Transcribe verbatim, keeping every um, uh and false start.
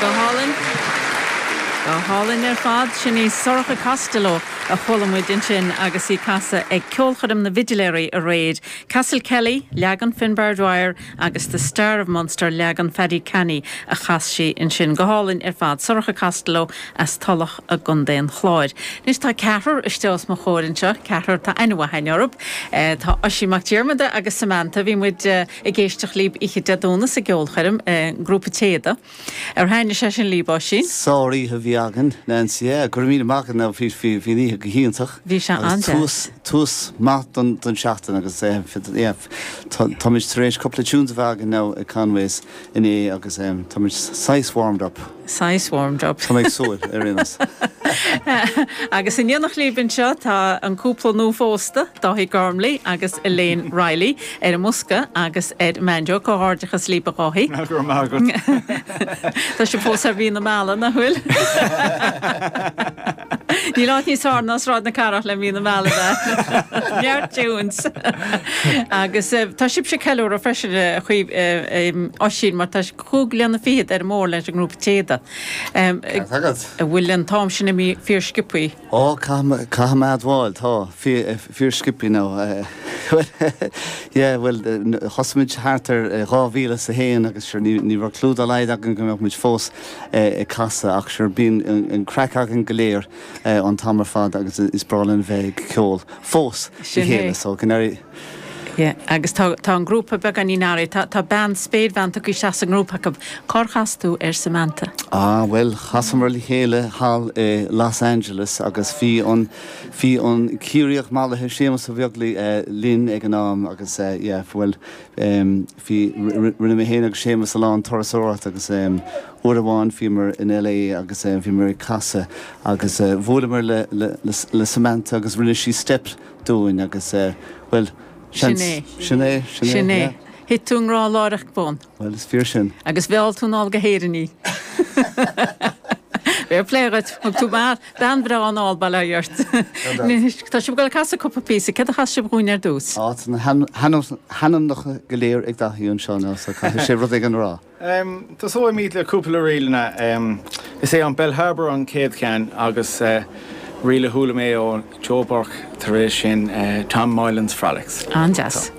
Go hálainn. Go hálainn ar fad sin í Sorcha Costello a chuala muid ansin agus í ag casadh ag ceolchoirm na bhFidléirí aréir. Castle Kelly, leagan Finbar Dwyer agus The Star of Munster leagan Paddy Canny a chas sí ansin go hálainn ar fad Sorcha Costello as Tulach i gContae an Chláir. Anois tá ceathrar istigh os mo chomhair anseo, ceathrar tá aithne orthu, e, tá Oisín Mac Diarmada agus Samantha bhí muid eh, ag éisteacht libh oíche Dé Domhnaigh sa gceolchoirm grúpa Téada. Ar thaitin sé sin libh sin? Sároíche bhí againn Nancy go raibh míle maith ná bhí bhí oíche go hiontach. Bhí sé an-tús tús maith don don seachtain agus táimid tar éis cúpla tunes a bheith againn now ag Conways inné agus táimid saghas warmed up. Saghas warmed up. Tá ag súil ar aon Agus in éineacht libh anseo tá an cúpla nuaphósta Dáithí Gormley agus Elaine Riley ar an mbosca agus ar banjo comhghairdeachas libh a Dháithí. Tá sé fós ar mhí na meala nach bhfuil. Níl áit níos fearr ná Sráid na Cathrach le mí na meala Neart tunes. Agus tá sibhse ag ceiliúradh freisin chuí Oisín mar tá cúig bliana fichead ar mór leis an ngrúpa Téada. An bhfuil an t-am sin imithe fíorsciobtha. Ó caithfidh mé a admháil tá fíorsciobtha nó well thosaigh muid thart ar dhá mhíle sa haon agus sure ní raibh clue dá laghad againn go mbeadh muid fós ag casadh ach sure bíonn an craic againn go léir an t-am ar fad agus is breá linn bheith ag ceol fós chéile so go Yeah, agus tá tá an grúpa beagáinín athraithe tá bean spéirbhean tagtha isteach sa ngrúpa acu Cár chas tú ar Samantha. Ah well chasamar le chéile thall i Los Angeles agus bhí an bhí an Ciarraíoch mallaithe Séamus Ó Beaglaoich uh, linn ag an am agus uh, yeah, well um, bhí rinne mé féin agus Séamus a lán turasóireacht agus um, uair amháin bhíomar in LA agus um, bhíomar ag casadh agus uh, bhuaileamar le, le, le, le Samantha agus rinne sí step dúinn agus uh, well Sin é. Sin é Sin é. Thit tú i ngrá láithreach bonn. Well is fíor sin. Agus mheall tú anall go hÉirinn í. Fair play duit thug tú bean bhreá anall bail ó Dhia ort. Tá sibh ag dul a chasadh cúpla píosa, céard a chas sibh dúinn ar dtús. Á na hainmneacha go léir ag Dáithí anseo ná so caithfidh sé rud éigin a rá. Um, Tosóimid le cúpla ríleanna um, is é an Bellharbour an chéad cheann agus uh, ríle a chuala mé ó Joe Burke tar éis sin uh, Tom Moylan's Frolics. An-deas.